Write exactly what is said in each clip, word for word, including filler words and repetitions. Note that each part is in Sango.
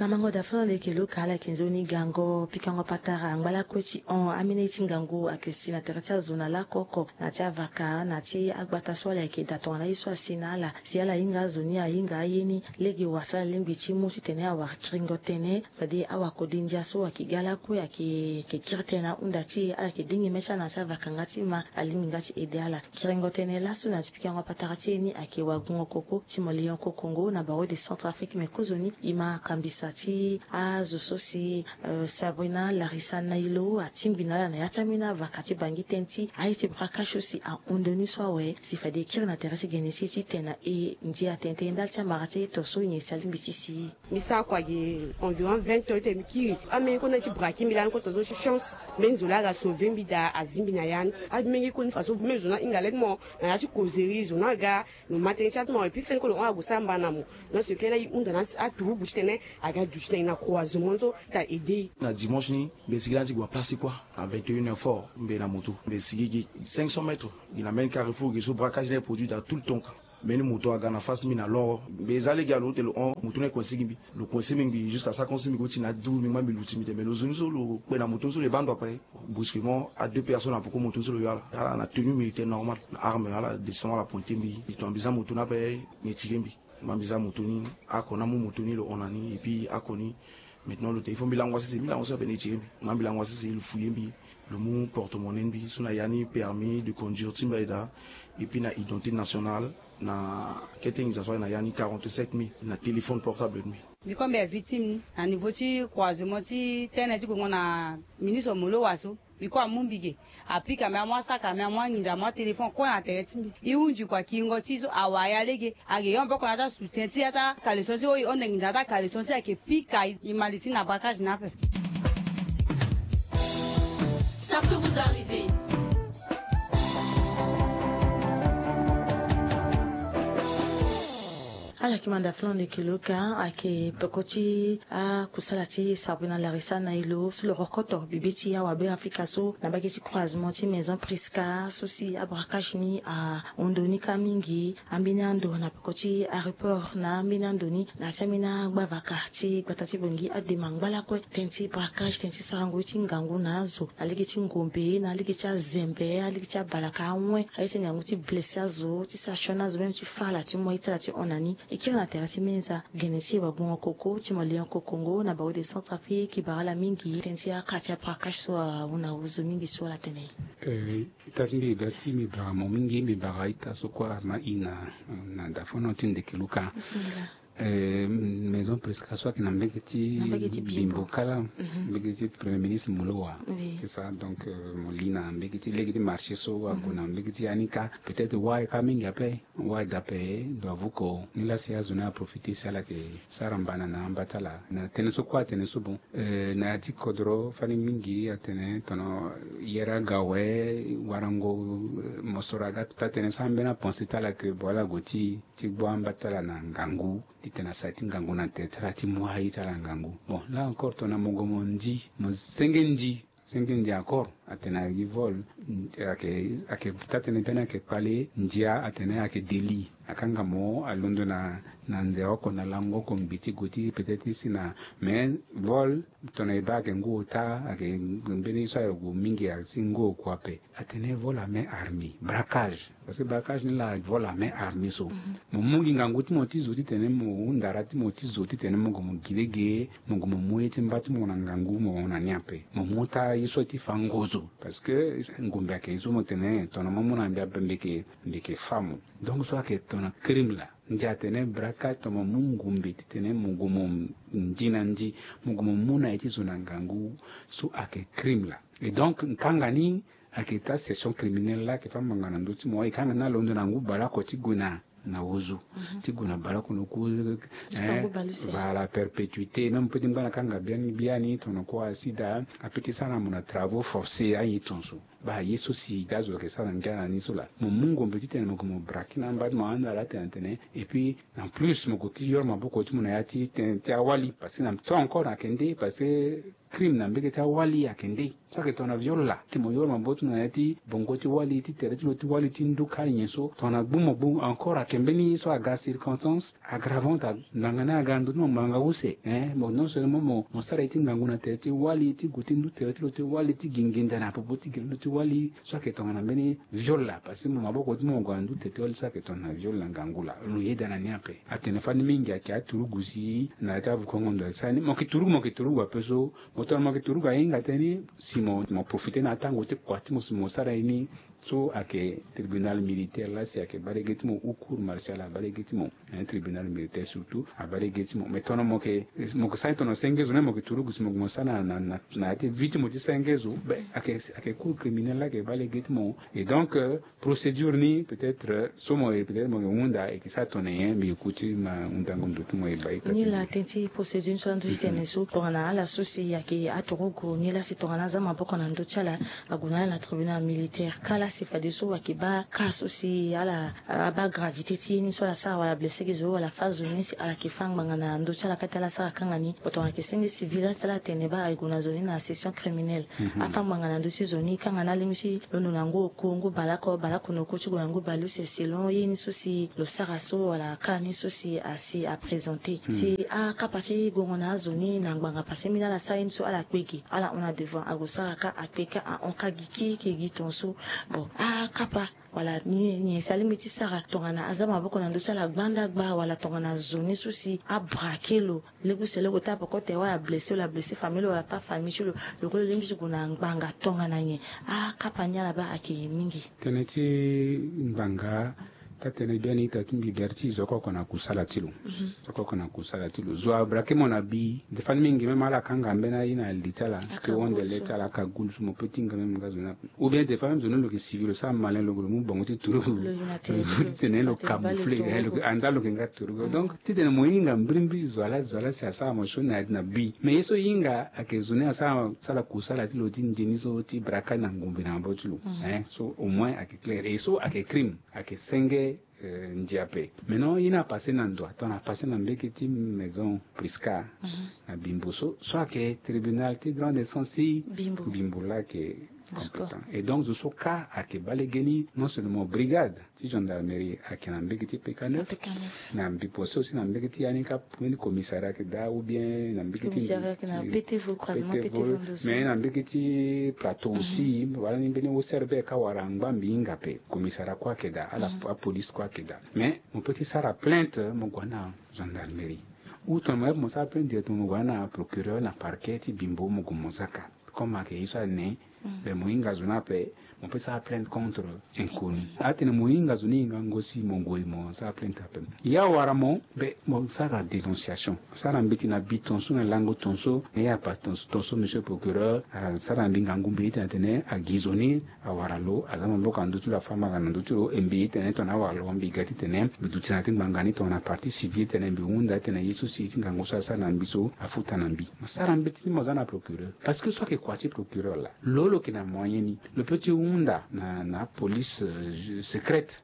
Na mango da fana leke lo ka ala yeke nzoni gango pikango patara angba lakue ti hon amene ye ti ngangu ayeke si na tere ti azo na lako oko na ti avaka na ti agbata so ala yeke da tongana ye so asi na ala si ala hinga azo ni ahinga aye ni. Lege wara ti ala lingbi ti mu titene awara kiringo tënë fade awakode ndia so ayeke ga lakue ayeke yeke kiri tënë na ahunda ti e ala yeke dingi mê ti ala na ti avaka nga ti ma alingbi nga ti ede ala. Kiringo tënë laso na ti pikango patara ti e ni ayeke wagungo koko ti mo lion kokongo na baro de centre afrique me kozoni e ma kambisa ti azo so si sabrina larisa nailo atingbi na ala na ya ti ambeni avaka ti bangi tënë ti aye ti braquage so si ahon ndoni so awe si fade e kiri na tere ti gene si e ti tene na e ndia tene tene ndali ti amara ti aye to so nyen si alingbi ti si e. Mbi sara kua gi environ vingt heures ti tene mbi kiri. Ambeni kota ti braquer mbi lani kota zo ti chance. Mbeni zo laa aga sauver mbi daa azi mbi na ya ni. Amenge koni faso même zo ni ahinga le ti mo na ya ti causerie zo ni aga. Lo ma tënë ti ata mo et puis feni kue lo hon ague sara mba na mo. Dans ce cas là e hunda na aturugu ti tene aga du ti tene na croisement so ta aide e. Na dimanche ni mbi sigi lani ti gue na place ti kua na vingt et un heures fort mbi na moto mbi sigi gi cinq cents mètres gi na mbeni carrefour gi so braquage ni aye produit daa tout le temps ka. Mbeni moto aga na face mbi na lor mbi za lege alo te lo hon moto ni aye coince gi mbi. Lo coince mbi ngbii jusqu'à sa coince mbi go ti na du mbi ngba mbi luti mbi te mais lo zo ni so lo kpe na moto ni so lo ye baa ndo ape. Brusquement a deux personnes na poko moto ni so lo yo ala ala na tenue militaire normal na arme ala descend ala pointe mbi. Tongana mbi za moto ni ape mbi tire mbi. Ma mbi za moto ni ako ni amu moto ni lo hon na ni et puis ako ni. Maintenant lo te il faut mbi lango asese mbi lango asese ape ni e tire mbi. Ma mbi lango asese lo fouye mbi. Lo mu porte monnaie mbi so na ya ni permis de conduire ti mbi aye daa. Et puis na identité nationale na kete nginza so aye na ya ni quarante-sept mille na téléphone portable mbi. Mbi kue mbi ya victime ni na niveau ti croisement ti tene ti gongo na ministre molowa so. Mbi kue amu mbi ge. Apika mbi amu asaka mbi amu anginza amu atéléphone kue na tere ti mbi. E hunzi kua kiringo ti e so awara ya lege. Ake yo mpe oko na ya ti asoutien ti ya ti akaleson ti e oyo e hon nde nginza na ya ti akaleson ti e ayeke pika e ma li ti na braquage ni ape. Ça peut vous arriver. Ala yeke manda flan leke lo ka ayeke peko ti akusala ti sabrina larisa na e lo so lo rokoto bibe ti awabe afrika so na mbage ti croisement ti maison prisca so si abraquage ni ahon ndo ni kâ mingi. Ambeni ando na peko ti areport na ambeni ando ni na ya ti ambeni agbavaka ti gbata ti bongi adema ngba lakue tënë ti braquage tënë ti sarango ye ti ngangu na azo na lege ti ngombe na lege ti azembe na lege ti abalaka awen aye ti ngangu ti blesse azo ti sara sioni azo même ti fa ala ti mu aye ti ala ti hon na ni. E kiri na tere ti menza gene ti e wagbongo koko ti mo lion kokongo na baro de centre afrique e bara ala mingi tënë ti aka ti abraquage so ahon na ozo mingi so ala tene. Ita ti mbi ita ti mbi bara mo mingi mbi bara ita so kue ama i na na dafono ti ndeke luka. Maison presca so ayeke na mbege ti bimbo kala mbege ti premier ministre molowa. C'est ça donc mo li na mbege ti lege ti marché so ague na mbege ti ya ni ka peut-être wai ka mingi ape. Wai dape lo avouko ni lasi azo ni aprofite si ala yeke sara mbana na amba ti ala na tënë so kue atene so bon. Na ya ti kodro fani mingi atene tono yere aga awe warango mosoro aga taa tënë so ambeni apense ti ala yeke bo ala gue ti ti gbu amba ti ala na ngangu titene asara ti ngangu na tere ti ala ti mu aye ti ala ngangu. Bon là encore tongana mo gue mo ndi mo senge ndi senge ndi encore atene ayeke gi vol. Ayeke taa tënë mbeni ayeke kpale ndia atene ayeke délit akanga mo alondo na na nze oko na lango oko ngbi ti gue ti peut-être ti si na mais vol tongana e baa ayeke ngu ota ayeke mbeni so ayeke gue mingi asi ngu oku ape. Atene vol à main armée braquage. Parce que braquage ni laa vol à main armée so mo mu gi ngangu ti mo ti zo titene mo hunda ra ti mo ti zo titene mo gue mo gi lege mo gue mo mu ye ti mba ti mo na ngangu mo hon na ni ape mo mu taa ye so ti fa ngozo. Parce que ngombe ayeke ye so mo tene tongana mo mu na mbi ape mbi yeke mbi yeke fa mo. Donc so ayeke tongana crime laa ndia atene braquage tongana mo mu ngombe titene mo gue mo ndi na ndi mo gue mo mu na ye ti zo na ngangu so ayeke crime laa. Et donc nkanga ni ayeke taa session criminelle laa ayeke fâ ngbanga na ndö ti mo e kanga ni alondo na ngu baleoko ti gue na na ozo ti gue na baleoko na oku. Voilà perpétuité même peut ti ngba na kanga biani biani tongana kue asida apeut ti sara na mo na travaux forcés aye tongaso. Baa ye so si daa zo ayeke sara ngia na ni so laa, mo mu ngombe titene mo yeke mo braquer na amba ti mo anda laa tene atene. Et puis en plus mo yeke kiri yoro maboko ti mo na ya ti tene ti awali parce que na to encore ayeke nde parce que crime na mbege ti awali ayeke nde. So ayeke tongana viol laa ti mo yoro maboko ti mo na ya ti bongo ti wali ti tere ti lo ti wali ti nduka nyen so tongana gbu mo gbu encore ayeke mbeni so aga circonstance aggravante. Ngbanga ni aga na ndö ti mo ngbanga use. Hein, mo non seulement mo sara ye ti ngangu na tere ti wali ti gue ti ndu tere ti lo ti wali ti gi nginda na popo ti gi lo ti wali. So ayeke tongana mbeni viol laa parce que mo maboko ti mo mo gue na ndu tere ti wali so ayeke tongana viol na ngangu laa lo yeda na ni ape. Atene fani mingi ayeke aturugu si na ya ti avukongo ndo asara ni mo yeke turugu mo yeke turugu ape so. Mo tongana mo yeke turugu ahinga tënë ni si mo profiter na atango ti kua ti mo si mo sara ye ni. So ayeke tribunal militaire laa si ayeke baa lege ti mo ou cour martial abaa lege ti mo. Tribunal militaire surtout abaa lege ti mo mais tongana mo yeke sara ni tongana senge zo ni mo yeke turugu si mo yeke mo sara na na na ya ti vie ti mo ti senge zo be ayeke ayeke cour criminel laa ayeke baa lege ti mo. Et donc procédure ni peut-être so mo ye peut-être mo yeke hunda ayeke sara tongana nyen mbi yeke kuti ma hundango ndo ti mo ye baa ye ta ti ni laa tënë ti procédure ni so andu ti tene so tongana ala so si ayeke aturugu ni laa si tongana aza maboko na ndö ti ala ague na ala na tribunal militaire ka laa si fadeso ayeke baa ka so si ala abaa gravité ti ye ni so ala sara wala blessé gi zo wala fâ zo ni si ala yeke fâ ngbanga na ndö ti ala kâ ti ala sara kanga ni. Bon tongana ayeke senge civil laa si ala tene baa aye gue na zo ni na session criminelle afâ ngbanga na ndö ti zo ni kanga ni alingbi ti lo no na ngu oko ngu baleoko baleoko na oko ti gue na ngu baleuse selon ye ni so si lo sara so wala ka ni so si asi aprésenté si akapa ti gongo na azo ni na ngbanga parce que mbeni ala sara ye ni so ala kpe ge ala hon na devant ague sara ka akpe ka ahon ka gi keke gi ton so. Bon akapa wala nyen si alingbi ti sara tongana aza maboko na ndö ti ala gbanda gba wala tongana zo ni so si abrake lo lege use loko ti apoko tere wala blessé wala blessé famille lo wala pas famille ti lo. Lo kue lo lingbi ti gue na ngbanga tongana nyen? Akapa ni ala baa ayeke mingi. Tënë ti ngbanga taa tënë biani ita ti mbi bere ti zo oko oko na kusala ti lo. Zo oko oko na kusala ti lo zo abrake mo na bi defa ni mingi même ala kanga mbeni aye na li ti ala ti honde le ti ala aka gulu so mo pe ti hinga même nga zo ni ape. Ou bien defa même zo ni lo yeke civil lo sara malin lo mu bongo ti turugu lo titene lo camoufler lo yeke anda lo yeke nga turugu donc titene mo hinga mbirimbiri zo ala zo ala si asara mo so na bi mais ye so hinga ayeke zo ni asara sara kusala ti lo ti nde ni so ti braka na ngombe na maboko ti lo. Hein so au moins ayeke claire ye so ayeke crime ayeke senge. Ndia ape. Maintenant ye ni apasse na ndo ato na passe na mbege ti maison prisca na bimbo so so ayeke tribunal ti grande essence ti bimbo laa ayeke compétent. Et donc zo so ka ayeke baa lege ni non seulement brigade ti gendarmerie ayeke na mbege ti pk neuf na mbi poste aussi na mbege ti ya ni ka mbeni commissariat ayeke daa ou bien na mbege ti ptv mais na mbege ti plateau aussi wala ni mbeni ocrb ka wara angba mbi hinga ape. Commissariat kue ayeke daa ala apolice kue ayeke daa. Mais mo pe ti sara plainte mo gue na gendarmerie ou tongana mo sara plainte directement mo gue na procureur na parquet ti bimbo mo gue mo zaka. Comme ayeke ye so ane be mo hinga zo ni ape mo pe sara plainte contre inconnu. Atene mo hinga zo ni hingango si mo gue mo sara plainte ape. Ya wara mo be mo sara dénonciation sara mbeti na bi tonso na lango tonso na ye apasse tonso tonso monsieur procureur asara na mbi ngangu mbi itene atene agi zo ni awara lo aza maboko na ndö ti lo afa mbanga na ndö ti lo e mbi itene tongana awara lo mbi ga titene mbi duti na ya ti ngbanga ni tongana partie civile titene mbi hunda titene ye so si ti ngangu so asara na mbi so afuta na mbi. Mo sara mbeti ni mo za na procureur parce que so ayeke kua ti procureur laa lo lo yeke na moyen ni lo pe ti hunda na na apolice secrète.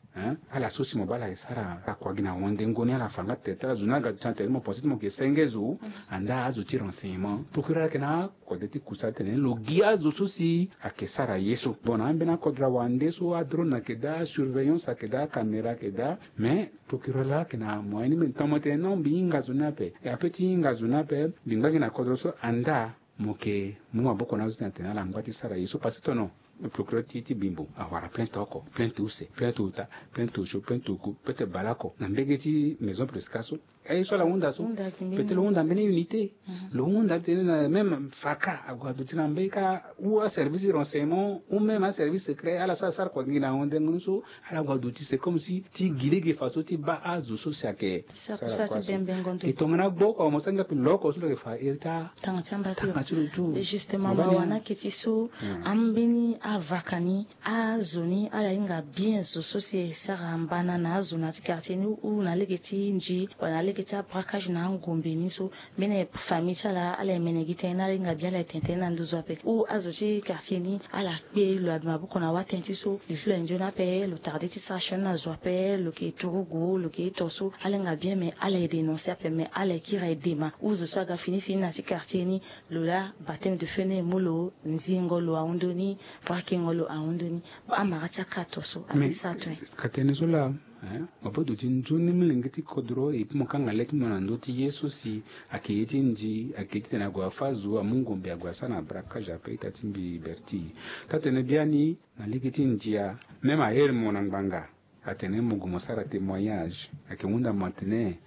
Ala so si mo baa ala yeke sara akua gi na wande ngo ni ala fa nga tere ti ala zo ni aga duti na tere ti mo pense ti mo yeke senge zo. Andaa azo ti renseignement procureur ayeke na akode ti kusa titene lo gi azo so si ayeke sara ye so bon na ambeni akodro awande so adrone ayeke daa asurveillance ayeke daa acaméra ayeke daa. Mais procureur laa ayeke na moyen ni mbi tongana mo tene non mbi hinga zo ni ape e ape ti hinga zo ni ape mbi ngba gi na kodro so andaa mo yeke mu maboko na azo ti na tene ala ngba ti sara ye so parce que tono procureur ti ti bimbo awara plainte oko plainte use plainte ota plainte osio plainte oku plainte baleoko na mbege ti maison presca so. Aye so ala hunda so peut-être lo hunda mbeni unité lo hunda titene na même faka ague aduti na mbeni ka ou aservice ti renseignement ou même aservice secret ala so asara kua gi na honde ngo ni so ala gue aduti c'est comme si ti gi lege façon ti baa azo so si ayeke ti sara kusa ti bembe ngo ndo e tongana gbo oko mo sara nga pe loko so lo yeke fa iri ti atanga ti amba ti lo tu. Justement mawa ni aketi so ambeni avaka ni azo ni ala hinga bien zo so si e sara mbana na azo na ya ti quartier ni ou na lege ti nji wala na lege Eti abraquage na angombe ni so, mbeni famille ti ala ala emene gi tënë na ala hinga bien ala etene tënë na nduzu ape. Ou azo ti quartier ni ala kpe lo abi maboko na watënë ti so li flo e nzoni ape lo tarde ti sara sioni na zo ape lo ke turugu lo ke ito so ala hinga bien mais ala edénonce ape mais ala ekiri aye dema ou zo so aga fini fini na ti quartier ni. Lo laa bateme de feu ni e mu lo nzingo lo ahon ndoni. Brakengo lo ahon ndoni. Amara ti akato so ape sa tue. Ka tënë so laa mo pe duti nzoni molenge ti kodro epi mo kanga le ti mo na ndö ti ye so si ayeke ye ti nzi ayeke ye ti tene ague afa zo amu ngombe ague asara na braquage ape ita ti mbi berti. Taa-tene biani na lege ti ndia même ahere mo na ngbanga atene mo gue mo sara témoignage ayeke hunda mo atene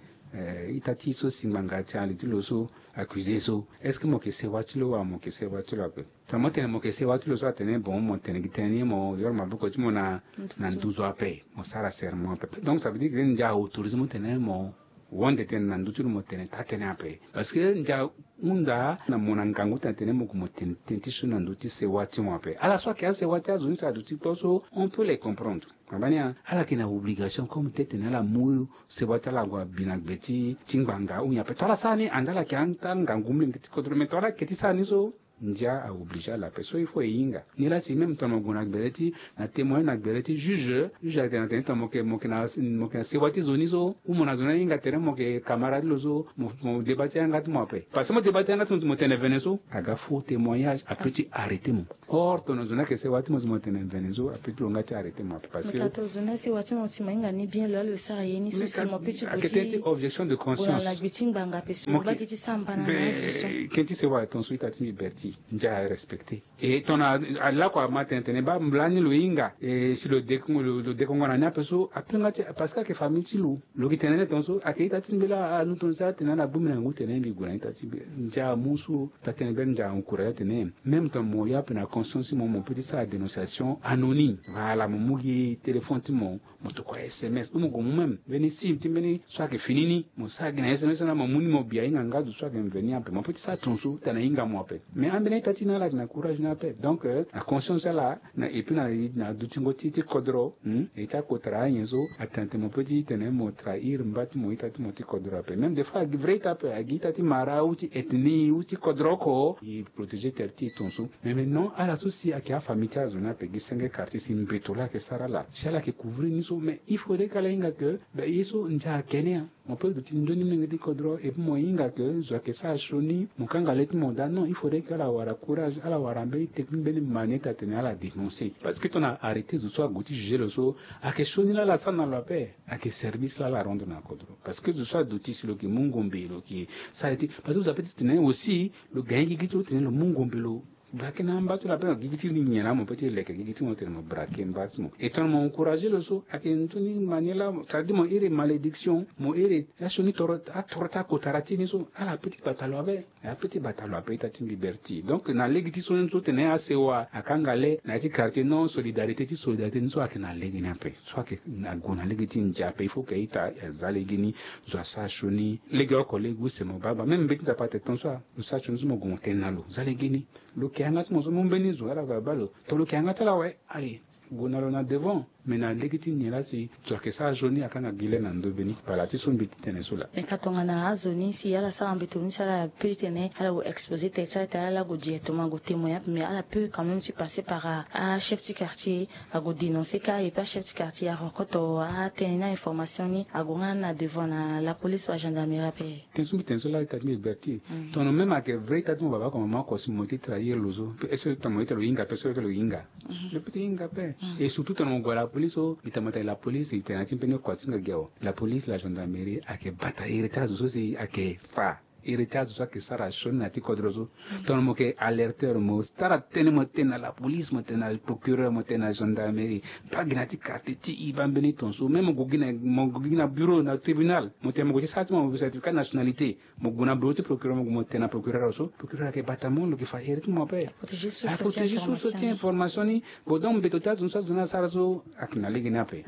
ita ti so si ngbanga ti ali ti lo so accusé so est-ce que mo yeke sewa ti lo wala mo yeke sewa ti lo ape? Tongana mo tene mo yeke sewa ti lo so atene bon mo tene gi tënë ni mo yoro maboko ti mo na nduzu ape mo sara serment ape donc ça veut dire que ndia autorisé mo tene mo wande tënë na ndö ti lo mo tene taa-tënë ape. Parce que ndia hunda na mo na ngangu ti na tene mo gue mo tene tënë ti so na ndö ti sewa ti mo ape ala so ayeke asewa ti azo ni si aduti kpo so on peut les comprendre. Abani ala yeke na obligation comme ti tene ala mu sewa ti ala ague abi na gbe ti ngbanga ou nyen ape to ala sara ni ande ala yeke ata ngangu molenge ti kodro mais to ala yeke ti sara ni so ndia a obligé ala ape so il faut e hinga. Nilaa si même tongana mo gue na gbere ti na témoin na gbere ti juge juge ayeke na tene tongana mo yeke mo yeke na mo yeke na sewa ti zo ni so ou mo na zo ni ahinga tere mo yeke camarade ti lo so mo mo débat ti yanga ti mo ape parce que mo débat ti yanga ti mo ti mo tene vene so aga faux témoignage ape ti arrêté mo. Or tongana zo ni ayeke sewa ti mo si mo tene vene so ape ti lo nga ti arrêté mo ape parce que tongana zo ni asewa ti mo si mo hinga ni bien lo ala lo sara ye ni so si mo pe ti gue ti objection de conscience na gbe ti ngbanga ape si mo baa gi ti sara mbana na azo so. Ken ti sewa ton so ita ti mbi berti ndia arespecté. E tongana alako ama tene tene baa lani lo hinga e si lo dekongo lo dekongo na ni ape so ape nga ti parce que ayeke famille ti lo. Lo gi tene ni ton so ayeke ita ti mbi laa anu ton so atene ala gbu mbi na ngu tene mbi gue na ita ti mbi. Ndia amu so taa-tënë gbeni ndia encourage atene même ton mo ya ape na conscience ti mo mo pe ti sara dénonciation anonyme wala mo mu gi téléphone ti mo mo tokua sms ou mo gue mu même mbeni sim ti mbeni so ayeke fini ni mo sara gi na sms so na mo mu ni mo bi ahinga nga zo so ayeke mveni ape mo pe ti sara ton so tana hinga mo ape. Mais ambeni ita ti na ala yeke na courage ni ape donc na conscience ti ala na et puis na na dutingo ti ti kodro. E ti akotara anyen so atene tene mo pe ti tene mo trahir mba ti mo ita ti mo ti kodro ape même des fois agi vrai ita ape agi ita ti mara ou ti ethnie ou ti kodro oko e protéger tere ti e ton so. Mais maintenant ala so si ayeke afamille ti azo ni ape gi senge quartier si mbeto laa ayeke sara ala si ala yeke couvrir ni so mais il faudrait ke ala hinga ke be ye so ndia ayeke ni. Mo pe duti nzoni molenge ti kodro et puis mo hinga ke zo ayeke sara sioni mo kanga le ti mo daa non il faudrait ke ala wara courage ala wara mbeni technique mbeni manière ti atene ala dénoncer parce que tongana arrêté zo so ague ti juger lo so ayeke sioni laa ala sara na lo ape. Ayeke service laa ala rendre na kodro parce que zo so aduti si lo yeke mu ngombe lo yeke sara ye ti parce que zo ape ti tene aussi lo gagner gigi ti lo tene lo mu ngombe lo braquer na amba ti lo ape na gigi ti nyen laa mo pe ti leke gigi ti mo tene mo braquer mba ti mo et tongana mo encourager lo so ayeke nzoni manière laa c'est à dire mo iri malédiction mo iri asioni toro atoro ti akotara ti ni so ala pe ti bata lo ape. Ape ti bata lo ape ita ti mbi berti donc na lege ti so ni so tene asewa akanga le na ya ti quartier non solidarité ti solidarité ni so ayeke na lege ni ape so ayeke ague na lege ti ndia ape il faut ke ita aza lege ni zo asara sioni. Lege oko lege use mo baa gbaa même mbeti nzapa atene ton so lo sara sioni so mo gue mo tene na lo za lege ni. Lo ke yanga ti mo so mu mbeni zo ala gue abaa lo ton lo ke yanga ti ala awe aye. Gue na lo na devant. Mais na lege ti nyen laa si zo ayeke sara sioni akanga gi le na ndo mbeni bala ti so mbi ti tene so laa. Mais ka tongana azo ni si ala sara mbeto ni si ala pe ti tene ala gue exposer tere ti ala tere ala gue directement ague témoigner ape mais ala pe quand même ti passer par achef ti quartier ague dénoncer ka et puis achef ti quartier arokoto atene ni a information ni ague nga na devant na la police wala gendarmerie ape. Tene so mbi tene so laa ita ti mbi berti. Tongana même ayeke vrai ita ti mo baba oko mama oko si mo ti trahir lo so est ce que tongana mo ita lo hinga pe so lo hinga. Lo pe ti hinga ape. Et surtout tongana mo gue na la police so mbi tene mo tene la police mbi tene na ti mbeni oko asinga gi awe. La police la gendarmerie ayeke bata iri ti azo so si ayeke fa iri ti azo so ayeke sara sioni na ya ti kodro so. Tongana mo yeke alerteur mo sara tënë mo tene na la police mo tene na procureur mo tene na gendarmerie. Mbi gi na ya ti quartier ti e baa mbeni ton so même mo gue gi na mo gue gi na bureau na tribunal mo tene mo gue ti sara ti mo certificat nationalité. Mo gue na bureau ti procureur mo gue mo tene na procureur so procureur ayeke bata mo lo yeke fa iri ti mo ape. Protéger source ti information ni. Bon donc mbeto ti azo ni so azo ni asara so ayeke na lege ni ape.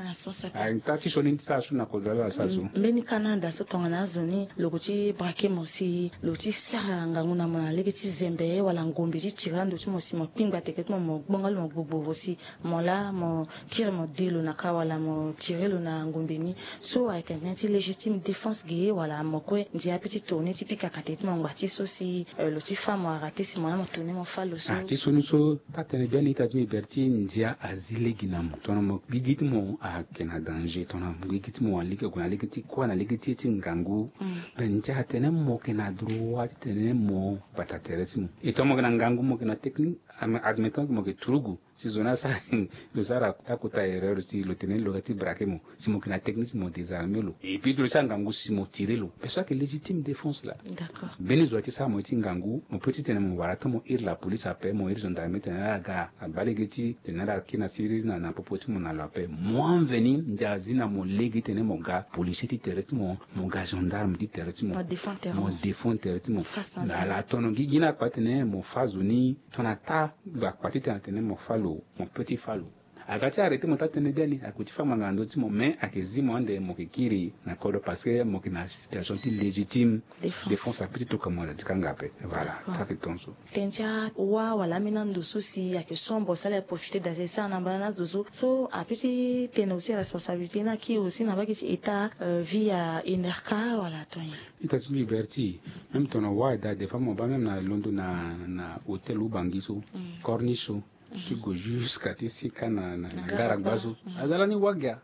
Ata ti sioni ti sara so na kodro ala asara so. Mbeni ka na anda so tongana azo ni lo gue ti braquer mo si. Lo ti sara ngangu na mo na lege ti zembe wala ngombe ti tiri ando ti mo si mo kpingba teke ti mo mo gbonga lo mo gbogbo si mo laa mo kiri mo de lo na ka wala mo tiri lo na ngombe ni. So ayeke tene ti légitime défense ge wala mo kue ndia ape ti tourner ti pika kate ti mo ngba ti so si lo ti fa mo arate si mo laa mo tourner mo fa lo so. Ti so ni so taa tene biani ita ti mi bere ti ndia azi lege na mo tongana mo gigi ti mo ayeke na danger tongana mo gigi ti mo alege ague na lege ti kuâ na lege ti ye ti ngangu. Ben ndia atene mo yeke na droit ti tene mo bata tere ti mo. E tongana mo yeke na ngangu mo yeke na technique admettant ke mo yeke turugu si zo ni asara lo sara akota erreur si lo tene lo ga ti braquer mo si mo yeke na technique si mo désarmer lo et puis ti lo ti angangu si mo tirer lo. Pe so ayeke légitime défense laa. Mbeni zo ati sara mo ye ti ngangu mo pe ti tene mo wara ata mo iri la police ape mo iri gendarme tene ala ga agba lege ti tene ala kiri na siriri na popo ti mo na lo ape. Mo anveni ndia azi na mo lege tene mo ga policier ti tere ti mo, mo ga gendarme ti tere ti mo, mo défend tere ti mo. Ala tono gigi ni akpa ti tene mo fa zo ni. Tongana taa lo akpa ti tene atene mo fa lo, mo pe ti fa lo. Aga ti arrêter mo taa tene biani ako ti fa ngbanga na ndö ti mo mais ayeke zi mo ande mo yeke kiri na kodro parce que mo yeke na situation ti légitime défense ape ti toka mo na ti kanga ape. Voilà. Taa yeke ton so. Tene ti awâ wala ambeni ando so si ayeke sombre si ala profiter date ti sara na mbala ni azo so so ape ti tene aussi responsabilité ni aki aussi na mbage ti état via enerka wala ato nyen? Ita ti mbi berti même tongana wâ daa des fois mo baa même na londo na hôtel ou bangi so, corniche so ti gue jusqu'à ti sika na gara gba so. Aza lani wâ gia.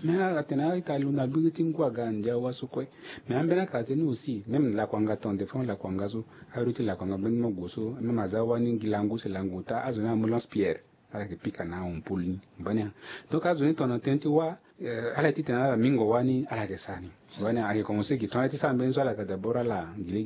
Mais atene a-ita lo na gbiri ti ngu aga ndia wâ so kue. Mais ambeni akara ti ni aussi même lakuanga ton des fois lakuanga so, ayo ti lakuanga mbeni mo gue so même aza wani ngi langu si langu taa azo ni ambulance pierre. Ala yeke pika na ahon poli ni mbani a. Donc azo ni tongana tënë ti wâ ala ye ti tene ala mingo wani ala yeke sara ni. Wani ayeke commencer gi tongana ti sara mbeni so ala yeke d'abord ala ngi le.